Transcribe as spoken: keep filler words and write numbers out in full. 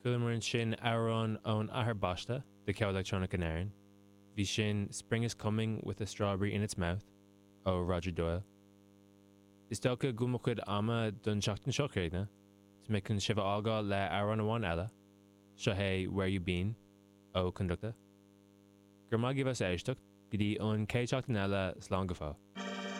Chualamar ansin amhrán ón athair baiste de cheol leictreonach in Éirinn. Bhí sin Spring is Coming with a Strawberry in its Mouth ó Roger Doyle. Is dócha go bhfuil mo chuid ama don seachtain seo críochnaithe, Tá mé chun sibh a fhágáil le amhrán amháin eile, seo é Where You Been ó Conducta. Gur maith as éisteacht go dtí an chéad seachtain eile slán go fóill.